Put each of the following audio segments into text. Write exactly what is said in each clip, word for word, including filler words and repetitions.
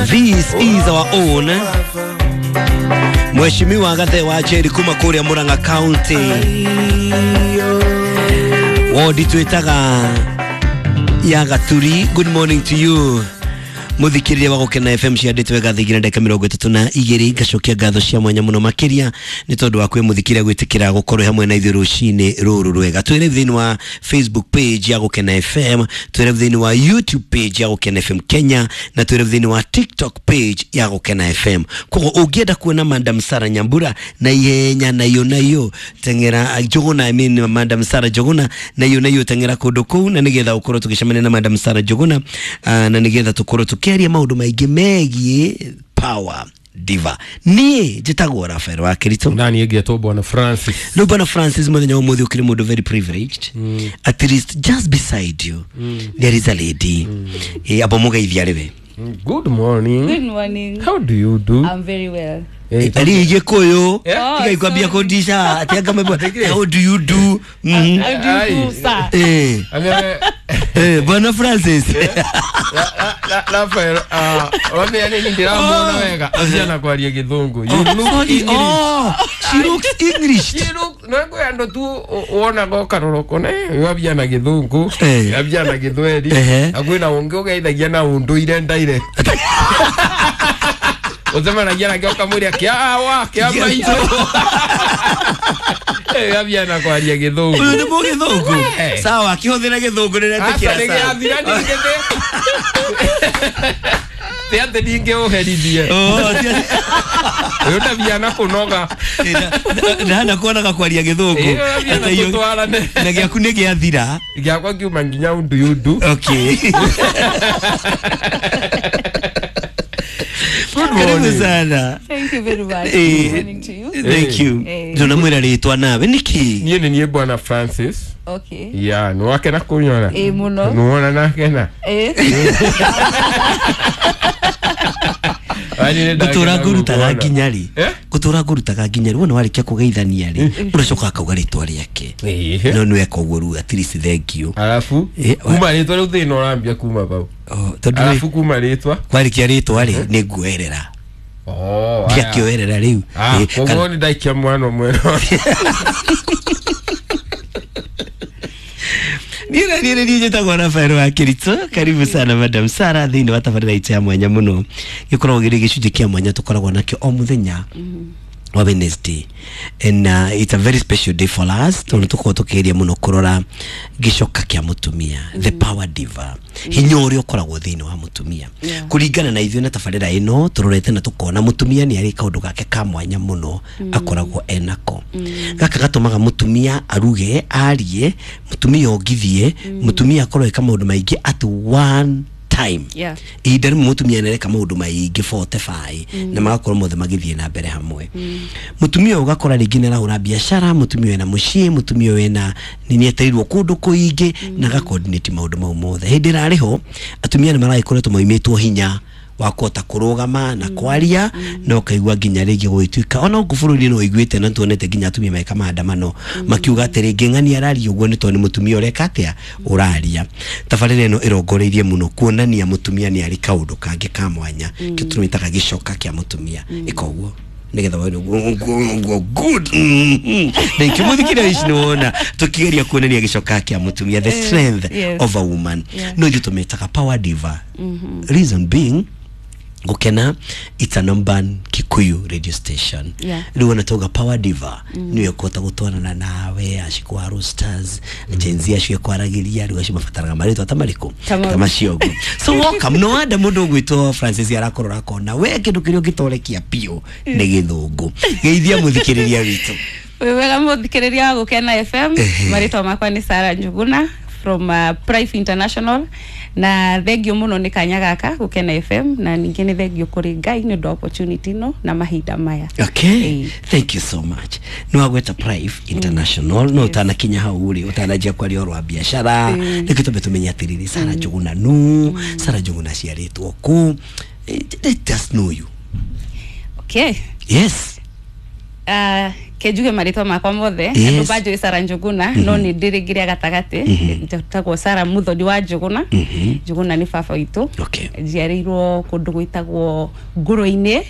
This is our own Mheshimiwa Gathe wa Njeri kuma kuria Murang'a County, wodi twitaga ya Gaturi. Good morning to you muthikiriria wa Gukena F M cianditwe gathingira ndagika mirongo itatu na igiri. Ngacokia ngatho cia mwanya muno makiria ni tondu wa kwi muthikiria gwitikira gukorwo hamwe na ithuĩ rucini ruru rwega. Twire thiini wa Facebook page ya Gukena F M, twire thiini wa YouTube page ya Gukena F M Kenya, na twire thiini wa TikTok page ya Gukena F M. Koguo ungienda kuona Madam Sarah Nyambura na ihenya na iyo na iyo tengera Njuguna, I mean Madam Sarah Njuguna na iyo na iyo tengera kundu kuu, na nigetha ukorwo tugicemania na Madam Sarah Njuguna, na nigetha tukorwo tukiaria maundu maingi megie power diva. Nie njitagwo Rafael wa Kirito na nie ngetwo Bwana Francis. No Bwana Francis, muthenya umuthi ukiri mundu very privileged. Mm. At least just beside you mm. there is a lady. Mm. Eh, abo mugeithia riwe. Good morning. Good morning. How do you do? I'm very well. Ali Gikuyu tiga ikwambia ati anga mebwa how do you do? Mm. How do you do, sir? Eh. Eh, Bwana Francis. Rafael, ah, wame nini ndiramuona wega aciana kwaria githungu. You look English. Oh, she looks English. She look no ngwe andu tu wona go karoroko ne yabia na githungu, yabia na githweri, agwina ungi ugeithagia na unduire ndaire. Utemanagia nake ukamwĩra kĩawa kĩa maitũ. Eh, yabia na kwaria githungu. Ũyũ nĩ mũgĩthũngũ. Sawa, akĩhũthĩra gĩthũngũ nĩretĩkĩra. Aca nĩgĩathira ningĩ ti atĩ ningĩ ũherithie. Ũyũ ndabia na kũnoga. Ndahana kuonaga kwaria gĩthũngũ. Na gĩaku nĩ gĩathira. Gĩakwa kiuma nginya undu yundu. Okay. Karibu sana. Thank you very much. Good morning to you. Thank you. Tunamwira ritwa nawe niki? Niĩ nĩ niĩ Bwana Francis. Okay. Yeah, no wakena kunyona. Eh, muno. Nuona nakena. Eh. Gutura ngurutaga nginya ri. Gutura ngurutaga nginya ri. Wona warikia kugeithania ri. Uracoka akauga ritwa riake. No nĩ weka ũguo rĩu at least thank you. Alafu kuma ritwa rĩu thĩna ũrambia kuma bau. Oh, tondu alafu kuma ritwa. Kwarikia ritwa ri nĩ nguoerera. Oh, ndiakĩoerera rĩu. Ah, koguo nĩ ndaikia mwana ũmwe. Niĩ niĩ niĩ njĩtagwo Rafael wa Kirito. Karibu sana Madam Sarah thĩinĩ wa tabarĩra itũ ya mwanya mũno. Gĩkoragwo gĩrĩ gĩcunjĩ kĩa mwanya tũkoragwo nakĩo o mũthenya wa Wednesday, and uh, it's a very special day for us. Tondu tukoragwo tukigeria mũno kũrora gĩcoka kĩa mũtumia, the power diva, hinya ũrĩa ũkoragwo thĩinĩ wa mũtumia. Kũringana na ithuĩ na tabarĩra ĩno tũrorete na tũkona mũtumia nĩ arĩ kaũndũ gake ka mwanya mũno akoragwo enako. Gaka gatũmaga mũtumia aruge, arie, mũtumia ongithie, mũtumia akorwo eka maũndũ maingĩ at one time. Yeah. Ihinda rĩmwe mũtumia nĩareka maũndũ maingĩ forty-five na magakorwo mothe magĩthiĩ na mbere hamwe. Mũtumia ũgakora rĩngĩ nĩarahũra biacara, mũtumia wĩna mũciĩ, mũtumia wĩna nĩetereirwo kũndũ kũingĩ na agacoordinate maũndũ mau mothe. Hĩndĩ ĩrarĩ ho atumia nĩ maragĩkoretwo maimĩtwo hinya wa kũhota kũrũgama na kwaria, na ũkaigua nginya rĩngĩ gũgĩtuĩka ona gũkũ bũrũri-inĩ no ũiguĩte na tuonete nginya atumia meka maandamano makiuga atĩ rĩngĩ ng'ani araria ũguo nĩ tondũ nĩ mũtumia ũreka atĩa ũraria. Tabarĩra ĩno ĩrongoreirie mũno kuonania mũtumia nĩ arĩ kaũndũ kangĩ ka mwanya kĩo tũmĩtaga gĩcoka kĩa mũtumia. Ĩka ũguo nĩgetha wone ũguo good. Thank you. Mũthikĩrĩria ici nĩwona tũkĩgeria kuonania gĩcoka kĩa mũtumia, the strength of a woman. No ithuĩ tũmĩtaga power diva. Reason being, Gukena it's a number Kikuyu radio station. Rĩu ona tauga power diva nĩwe kũhota gũtwarana nawe acikwa roasters Gen Z acio kwaragĩria rĩu acio mabataraga marĩtwa ta marĩkũ ta macio ũguo. So welcome. No wonder mũndũ ũgwĩtwo Francis arakorora akona we kĩndũ kĩrĩa ũngĩtorekia biũ nĩ gĩthũngũ. Geithia mũthikĩrĩria witũ. Wĩ wega mũthikĩrĩria wa Gukena F M. Marĩtwa makwa nĩ Sarah Njuguna from uh, Prife International, na thengio muno ni kanya gaka Gukena F M, na ningi ni thengio kuri Ngai ni undu opportunity no na mahinda maya. Okay. Hey. Thank you so much. No agweta Prife International mm. no yes. Utanakinya hau uri utanajia kwaria ũhoro wa biacara mm. Nĩkĩo twambe tũmenye atĩrĩrĩ Sarah Njuguna nu mm. Sarah Njuguna aciarĩtwo kũ. Let us know you. Okay. Yes. Uh, Kenjuge marĩtwa makwa mothe. Yes. Andũ banjũĩ Sara Njũgũna, no nĩ ndĩrĩ ngĩrĩa gatagatĩ njĩtagwo Sara Muthoni wa Njũgũna. Njũgũna nĩ baba witũ. Okay. Njiarĩirwo kũndũ gwĩtagwo Ngũrũ-inĩ,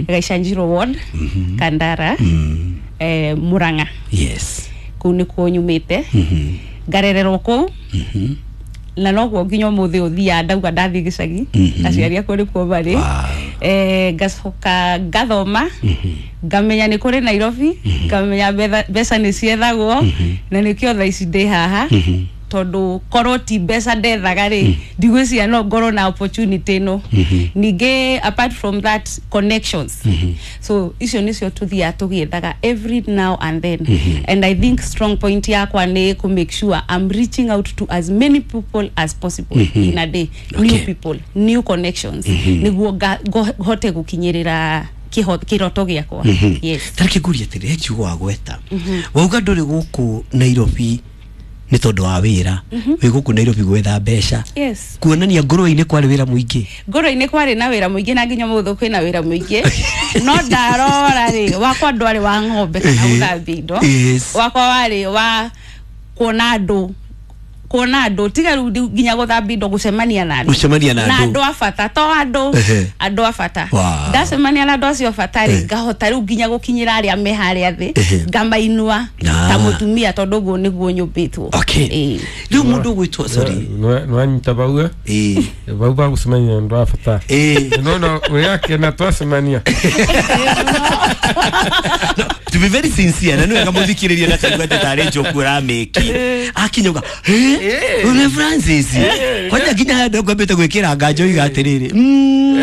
Gaicanjirwo ward, Kandara, eh, Murang'a. Yes. Kũu nĩkuo nyumĩte, ngarererwo kũu, na noguo nginya ũmũthĩ ũthiaga ndauga ndathiĩ gĩcagi, aciari akwa nĩkuo marĩ. Wow. Eh, ngacoka ngathoma, ngamenya nĩ kũrĩ Nairobi, ngamenya betha- mbeca nĩ ciethagwo, na nĩkĩo thaa ici ndĩ haha, tondũ korwo ti mbeca ndethaga rĩ, ndigwĩciria no ngorwo na opportunity ĩno. Ningĩ apart from that, connections. So icio nĩcio tũthiaga tũgĩethaga every now and then, and I think strong point yakwa nĩ kũ make sure I'm reaching out to as many people as possible in a day. Okay. New people, new connections, nĩguo nga- ngo- hote gũkinyĩrĩra kĩho- kĩroto gĩakwa. Yes. Tareke ngurie atĩrĩ, he kiugo wagweta, wauga ndũrĩ gũkũ Nairobi nĩ tondũ wa wĩra, wĩ gũkũ Nairobi gwetha mbeca. Yes. Kuonania ngũrwe-inĩ kwarĩ wĩra mũingĩ. Ngũrũ-inĩ kwarĩ na wĩra mũingĩ, na nginya mũthũ kwĩna wĩra mũingĩ, no ndarora rĩ, wakwa ndwarĩ wa ng'ombe kana gũthambia indo. Yes. Wakwa warĩ wa kuona andũ, kuona andũ, tiga rĩu ndi- nginya gũthambia indo, gũcemania na andũ. Gũcemania na na andũ. andũ a bata, to andũ, Ehe. andũ a bata. Wow. Ndacemania na andũ acio a bata rĩ, Eh. ngahota rĩu nginya gũkinyĩra arĩa me harĩa thĩ, Ehe. ngamainua Ah. ta mũtumia, tondũ ũguo nĩguo nyũmbĩtwo. Okay. Ĩĩ. Rĩu mũndũ ũgwĩtwo, sorry. Nwanyita bau, eh? Ĩĩ. Bau bagũcemania na andũ a bata. Ĩĩ. Nona wĩakena twacemania. No, to be very sincere, na nĩwega mũthikĩrĩria na kaigua atĩ tarĩ njoku ũramĩki akinya uga ũrĩ Francis, kwanja nginya handũ ngwambĩte gwĩkĩra nganja oiga atĩrĩrĩ, "Mm,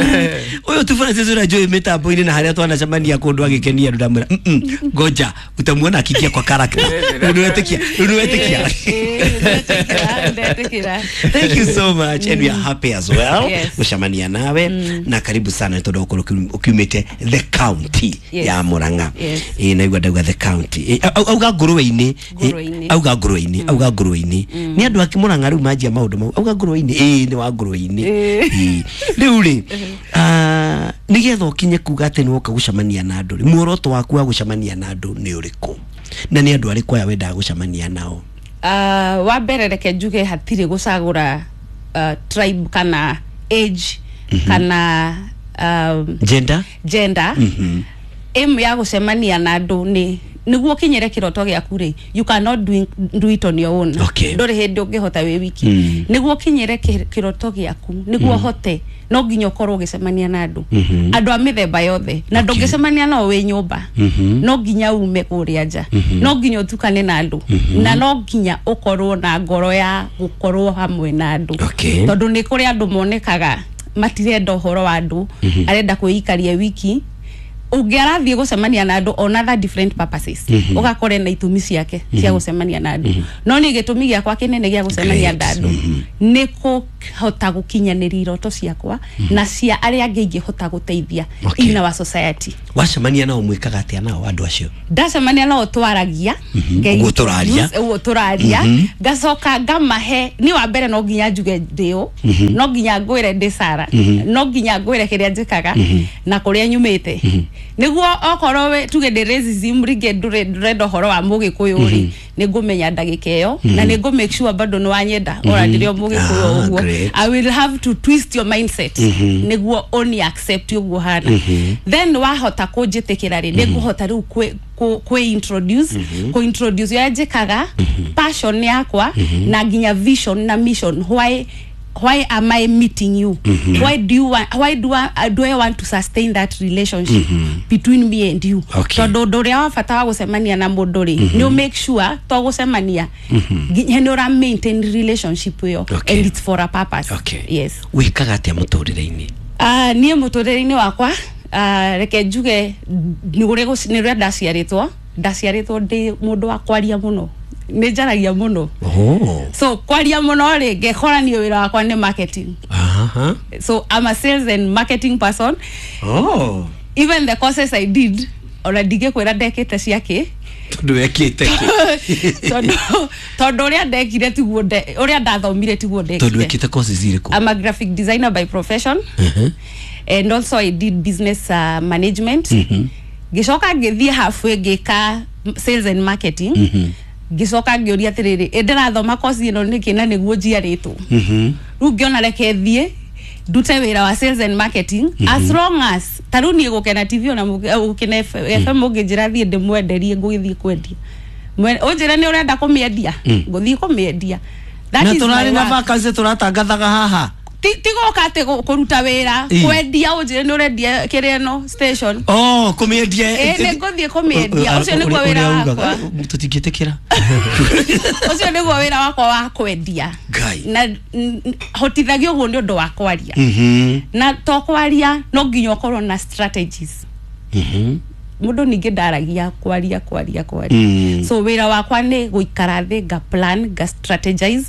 ũyũ tu Francis ũrĩa njũĩ mĩtambo-inĩ na harĩa twanacemania kũndũ agĩkenia andũ." Ndamwĩra, "Mm, mm, ngoja utamuona akiingia kwa character." Rĩu nĩwetĩkia, rĩu nĩwetĩkia. Ĩĩ, ndetĩkĩra, ndetĩkĩra. Thank you so much, and we are happy as well Yes. gucemania nawe, na karibu sana tondu ukorwo ukiumite the county Yes. ya Murang'a. Yes. Ĩ, naigua ndauga the county. Ĩ, au- auga ngũrwe-inĩ. Ngũrwe-inĩ. Ĩ, auga ngũrwe-inĩ, auga ngũrwe-inĩ nĩ andũ a Murang'a rĩu manjia maũndũ mau, auga ngũrwe-inĩ, ĩ nĩ wa ngũrwe-inĩ. Ĩ. Rĩu rĩ, ah, nĩgetha ũkinye kuga atĩ nĩ woka gũcemania na andũ rĩ, muoroto waku wa gũcemania na andũ nĩ ũrĩkũ, na nĩ andũ arĩkũ aya wendaga gũcemania nao? Uh, wa mbere reke njuge hatirĩ gũcagũra uh, tribe kana age kana um, gender. Gender. Aim ya gũcemania na andũ nĩ nĩguo ũkinyĩre kĩroto gĩaku rĩ, you cannot do, do it on your own. Okay. Ndũrĩ hĩndĩ ũngĩhota wĩ wiki. Mm. Nĩguo ũkinyĩre kĩ- kĩroto gĩaku, nĩguo ũhote, no nginya ũkorwo ũgĩcemania na andũ, andũ a mĩthemba yothe, na Okay. ndũngĩcemania nao wĩ nyũmba. No nginya ume kũrĩa nja, no nginya ũtukane na andũ, na no nginya ũkorwo na ngoro ya gũkorwo hamwe na andũ. Okay. Tondũ nĩ kũrĩ andũ monekaga matirenda ũhoro wa andũ, arenda kwĩikaria wiki. Ũngĩ arathiĩ gũcemania na andũ on other different purposes, ũgakora na itũmi ciake cia gũcemania na andũ, no niĩ gĩtũmi gĩakwa kĩnene gĩa gũcemania na Great. andũ nĩ kũhota gũkinyanĩria iroto ciakwa na cia arĩa angĩ ingĩhota gũteithia Okay. in our society. Wacemania nao mwĩkaga atĩa nao andũ acio? Ndacemania nao twaragia. Nge- Ũguo tũraria. Ũguo tũraria, ngacoka ngamahe ni wa mbere, no nginya njuge ndĩũ, no nginya ngwĩre ndĩ Sara, no nginya ngwĩre kĩrĩa njĩkaga na kũrĩa nyumĩte, nĩguo okorwo we tuge ndĩ racism rĩngĩ, ndũrĩ ndũrenda ũhoro wa mũgĩkũyũ rĩ, nĩ ngũmenya ndagĩka ĩyo, na nĩ ngũ make sure bado nĩ wanyenda ora ndĩrĩ o mũgĩkũyũ. Ah, Ũguo great. I will have to twist your mindset nĩguo ũni accept ũguo hana. Then wahota kũnjĩtĩkĩra rĩ, nĩ ngũhota rĩu kwĩ kũ- kwĩ introduce, kũ introduce ũrĩa njĩkaga, passion yakwa, na nginya vision na mission. why why am I meeting you? Why do you want, why do I, do I want to sustain that relationship between me and you? Okay. Tondũ ũndũ ũrĩa wa bata wa gũcemania na mũndũ rĩ, nĩ ũ make sure to gũcemania nginya nĩ ũra maintain relationship ĩyo. Okay. And it's for a purpose. Okay. Yes. Wĩkaga atĩa mũtũrĩre-inĩ? Uh, niĩ mũtũrĩre-inĩ wakwa, uh, reke njuge nĩ ũrĩa gũci- nĩ ũrĩa ndaciarĩtwo ndaciarĩtwo ndĩ mũndũ wa kwaria mũno, nĩ njaragia mũno. Oh. So kwaria mũno rĩ, ngekora niĩ wĩra wakwa nĩ marketing. Aha. So I'm a sales and marketing person. Oh. Even the courses I did, ona ndingĩkwĩra ndekĩte ciakĩ. Tondũ wekĩte kĩ? tondũ tondũ ũrĩa ndekire tiguo nde- ũrĩa ndathomire tiguo Tondũ ndekire. wekĩte courses irĩkũ? I'm a graphic designer by profession, and also I did business uh, management. Ngĩcoka ngĩthiĩ halfway ngĩka sales and marketing. Ngĩcoka ngĩũria atĩrĩrĩ, ĩ ndĩrathoma kosi ĩno nĩkĩ na nĩguo njiarĩtwo? Mhm. Rĩu ngĩona reke thiĩ ndute wĩra wa sales and marketing, as long as ta rĩu niĩ Gũkena T V ona mũgĩ- eh, Gũkena F M mũngĩnjĩra thiĩ ndĩmwenderie, ngũgĩthiĩ kwendia. Mwe- ũnjĩre nĩ ũrenda kũmĩendia, ngũthiĩ kũmĩendia. That Na is my tũrarĩ na work. vacancy tũratangathaga haha. Ti ti gũka atĩ gũ- kũruta wĩra, Ĩ. kwendia. Ũnjĩre nĩ ũrendia kĩrĩa ĩno station, Oh, kũmĩendia. Ĩ, nĩ ngũthiĩ kũmĩendia. Ũcio nĩguo wĩra wakwa. Tũtingĩtĩkĩra. Ũcio nĩguo wĩra wakwa wa kwendia. Ngai. Na n- n- hotithagia ũguo nĩ ũndũ wa kwaria. Mhm. Na to kwaria, no nginya ũkorwo na strategies. Mhm. Mũndũ ningĩ ndaragia kwaria kwaria kwaria. Mm. So wĩra wakwa nĩ gũikara thĩ, nga plan, nga strategize.